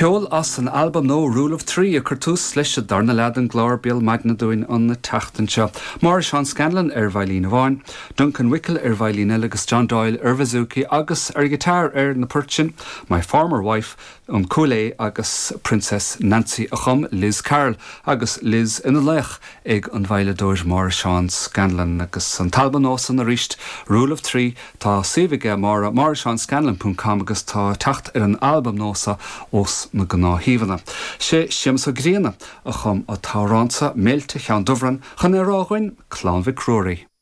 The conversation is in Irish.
Ceol as an albam nua Rule of Three ag cur tús leis an darna leath den gclár Béal Maidine dúinn an tseachtain seo. Máire Seán Scanlon ar veidhlín amháin, Duncan Wickel ar veidhlín eile agus John Doyle ar bhouzouki agus ar ghiotár ar na poirt sin, My Former Wife, An Cúil Aodh agus Princess Nancy a chum Liz Carroll agus Liz ina laoch ag an veidhleadóir Máire Seán Scanlon agus an t-albam nua san arís, Rule of Three, Tá suíomh aige Máire, máireseanscanlon ponc com agus tá teacht ar an albam nua seo ós na gnáthshuíomhanna. Sé Séamus Ó Grianna a chum an t-amhrán seo, Méilte Cheann Dubhrann, chun é a rá dhúinn, Clann Mhic Ruairí.